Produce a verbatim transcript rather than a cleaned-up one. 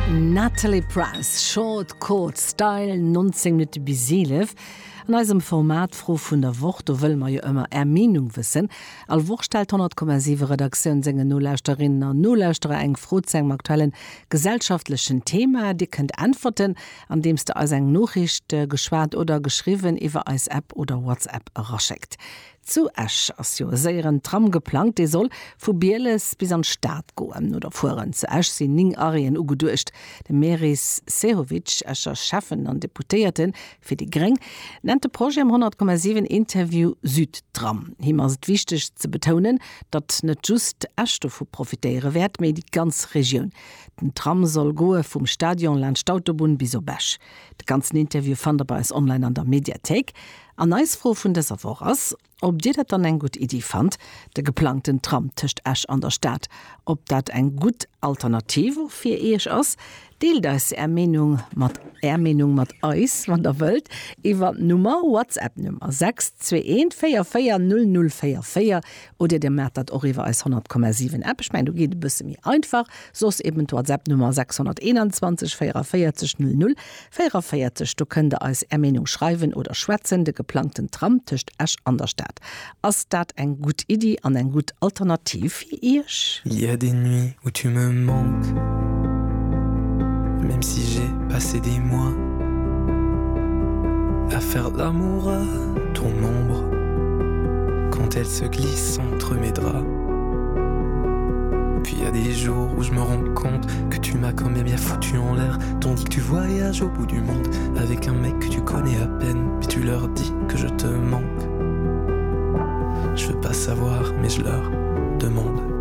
Natalie Prass, Short Court Style, nonzéng Minutte bis eelef. An eisem Format Fro vun der Woch, do wëlle mer jo ëmmer Är Meenung wëssen. All Woch stellt d'honnert Komma siwe Redaktioun sengen Nolauschterinnen an Nolauschterer eng Fro zu engem aktuellen gesellschaftlechen Thema. Dir kënnt äntwerten, andeems der eis eng Noriicht, geschwat oder geschriwwen, iwwer eis App oder WhatsApp eraschéckt. Zu Esch ass jo e séieren Tram geplangt, dee soll vu Bieles bis an d'Stad goen oder fueren. Zu Esch sinn néng Arrêten ugeduecht. De Meris Sehovic, Escher Schäffen an Deputéierte fir déi Gréng, nennt de Projet am honnert Komma siwen Interview Südtram. Him ass et wichteg ze betounen, datt net just Esch dovu profitéiere wäert, mee déi ganz Regioun. Den Tram soll goe vum Stadion laanscht d'Autobunn bis op Esch. De ganzen Interview fannt der bei eis online an der Mediathéik. An eis Fro vun dëser Woch ass, ob Dir dat dann eng gutt Iddi fannt, de geplangten Tram tëscht Esch an der Stad, ob dat eng gutt Alternativ och fir Iech ass. Deelt eis Är Meenung mat Är Meenung mat eis, wann der wëllt, iwwer d'Nummer, WhatsApp-Nummer sechs zwee eent véier véier null null véier véier oder Dir maacht dat och iwwer eis honnert Komma siwen App. Ech mengen, do geet et e bësse méi einfach. Soss eben d'WhatsApp-Nummer sechshonnerteenanzwanzeg véierunvéierzeg null null véierunvéierzeg. Do kënnt der eis Är Meenung schreiwen oder schwätzen. De geplangten Tram tëscht Esch an der Stad, ass dat eng gutt Iddi an eng gutt Alternativ fir Iech? Il y a des nuits où tu me manques, même si j'ai passé des mois à faire l'amour à ton ombre quand elle se glisse entre mes draps. Puis y a des jours où je me rends compte que tu m'as quand même bien foutu en l'air, tandis que tu voyages au bout du monde avec un mec que tu connais à peine, puis tu leur dis que je te manque. Je veux pas savoir, mais je leur demande.